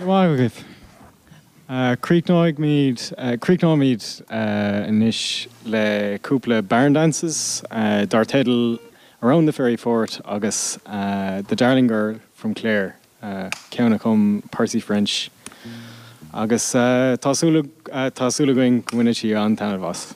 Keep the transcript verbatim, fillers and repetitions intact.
Maith agaibh. Críochnóimid críochnóimid anois le cúpla barn dances dar teideal Around the Fairy Fort agus The Darling Girl from Clare ceann a chum Percy French. Agus tá súil againn go mbainfidh sibh an-taitneamh as.